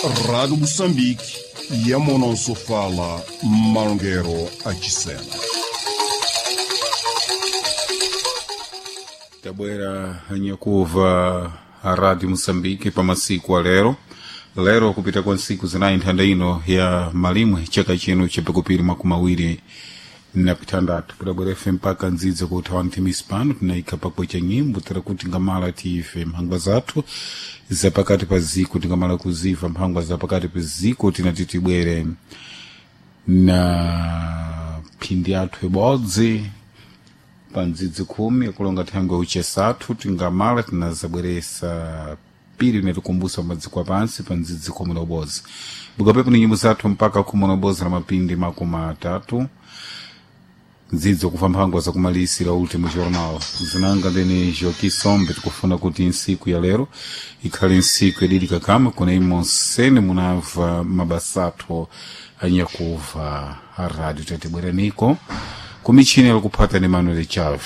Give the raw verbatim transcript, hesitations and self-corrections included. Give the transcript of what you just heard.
Rádio Moçambique, Yamononso fala Malongueiro a Chisena. Tabwera anyakuva a Rádio Moçambique pa masiku a lero lero kupita kwa ntsiku zinayi nthanda ino ya malimwe chaka chino chapakupiri makumi awiri na pitandatu kudabwera ife mpaka ndzidzi kuthawa nthimisi pano tinayikha pakwecha nyimbo tera kuti ngamala tiife mphangwa zathu zapakati pa ziko tingamala kuziva mphangwa zapakati pa ziko tinati tibwere na phindi athu ibodzi pa ndzidzi khumi akulonga thangwe uchesathu tingamala tinazabweresa pili inatikumbusa madziko apansi pa ndzidzi khumi na ubodzi bukapepo ni nyimbo zathu mpaka khumi na ubodzi na mapindi makumi atatu ndzidzo kufa mphangwa zakumalisira último jornal zinanga ndene Joaquim Sombe tikufuna kuti nsiku ya lero ikhale nsiku yadidika kama kuna imonsene munamva mabasa athu anyakuva a rádio tatibweraniko kumichini alikuphata ni Manuel Chave.